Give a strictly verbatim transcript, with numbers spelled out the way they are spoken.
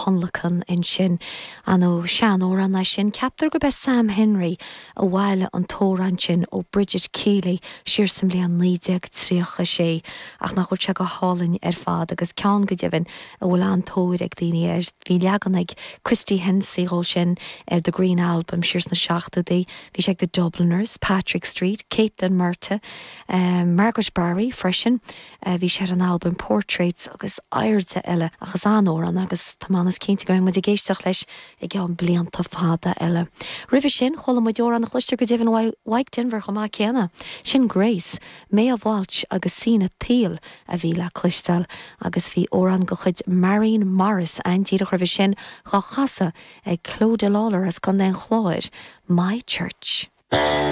thionlacan ansin an ó seanamhrán é sin ceaptar gurb é Sam Henry a bhailigh an t-amhrán sin ó Bridget Keeley siar sa mbliain naoi déag tríocha sé ach nach bhfuil sé go hálainn ar fad agus ceann go deimhin a bhfuil an-tóir ag daoine air bhí leagan ag Christy Hennessy dhó sin ar The Green Album siar sna seachtóidí, bhí sé ag The Dubliners, Patrick Street, Caitlin Murta, um, Margaret Barry freisin, uh, bhí sé ar an album Portraits agus airde eile agus an-amhrán agus tá mé cinnte go muid ag éisteacht leis i gceann blianta fada eile. Roimhe sin chuala muid amhrán a chloistear go deimhin Mike Denver chomh maith céanna, sin Grace, Maeve Walsh agus Sina Thiel a bhí le cloisteáil agus bhí amhrán de chuid Marion Morris an díreach roimhe sin á chasadh ag Clodagh Lawlor as Contae an Chláir, My Church.